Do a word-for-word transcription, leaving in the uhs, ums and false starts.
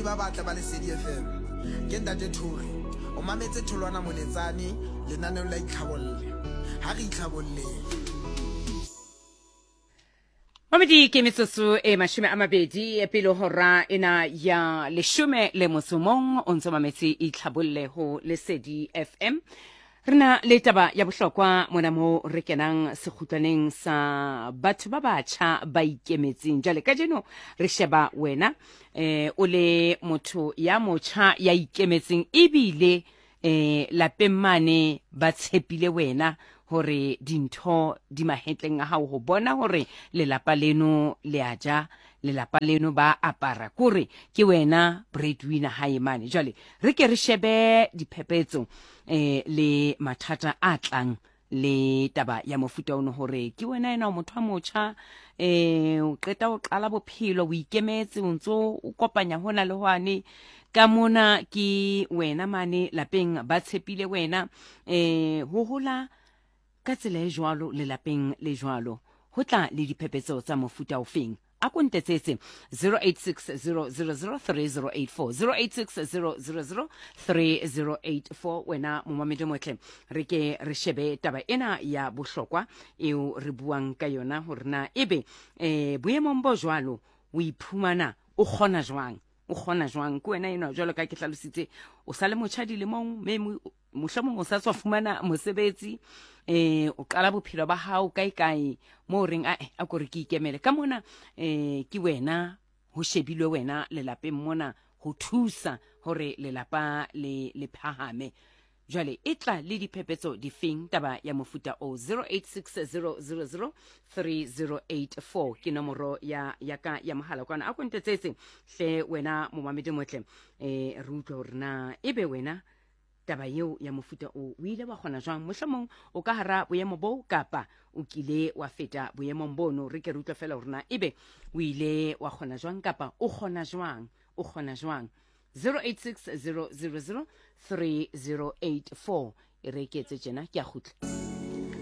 Bamamedi ba batle ba Lesedi F M, ke Ntate Thori. O mametse Tholwana Moletsane, lenaneo la Itlhabolle. Ha re itlhabolleng. Mamedi, ke metsotso e mashome a mabedi pele hora ena ya leshome le motso mong. O ntso mametse Itlhabolle ho Lesedi F M. Re na le taba ya bohlokwa mona mo re kenang sekgutlwaneng sa batho ba batjha ba ikemetseng. Jwale kajeno re sheba wena, eh o le motho ya motjha ya ikemetseng, ebile eh lapeng mane ba tshepile wena hore dintho di mahetleng a hao ho bona hore lelapa leno le a ja, lelapa leno ba apara, kore ke wena breadwinner hae mane. Jwale re ke re shebe diphephetso eh le mathata a tlang le taba ya mofuta ono, hore ke wena ena o motho a motjha, eh o qeta o qala bophelo, o ikemetse, o ntso o kopanya hona le hwane ka mona, ke wena mane lapeng ba tshepile wena. eh ho hola ka tsela e jwalo lelapeng le jwalo ho tla le diphephetso tsa mofuta ofeng? A ko ntetsetse zero eight six zero zero zero three zero eight four, zero eight six zero zero zero three zero eight four. Wena momamedi motle, re ke re shebe taba ena ya bohlokwa eo re buang ka yona, hore na ebe eh boemong bo jwalo o iphumana o kgona jwang, o kgona jwang ke wena enwa, jwalo ka ke hlalositse, o sa le motjha dilemong, mme mohlomong o sa tswa fumana mosebetsi, eh o qala bophelo ba hao kae kae mo o reng ae, a kore ke ikemele ka mona. eh ke wena ho shebilwe wena lelapeng mona ho thusa hore lelapa le le phahame. Jwale e tla le diphephetso difeng taba ya mofuta o? zero eight six zero zero zero three zero eight four ke nomoro ya ya ka ya mohala kwana. A ko ntetsetse hle wena momamedi motle, eh re utlwe hore na ebe wena taba eo ya mofuta o o ile wa kgona jwang. Mohlomong o ka hara boemo boo kapa o kile wa feta boemong bono. Re ke re utlwe fela hore na ebe o ile wa kgona jwang kapa o kgona jwang, o kgona jwang. zero eight six zero zero zero three zero eight four. E re ke etse tjena, ke a kgutla.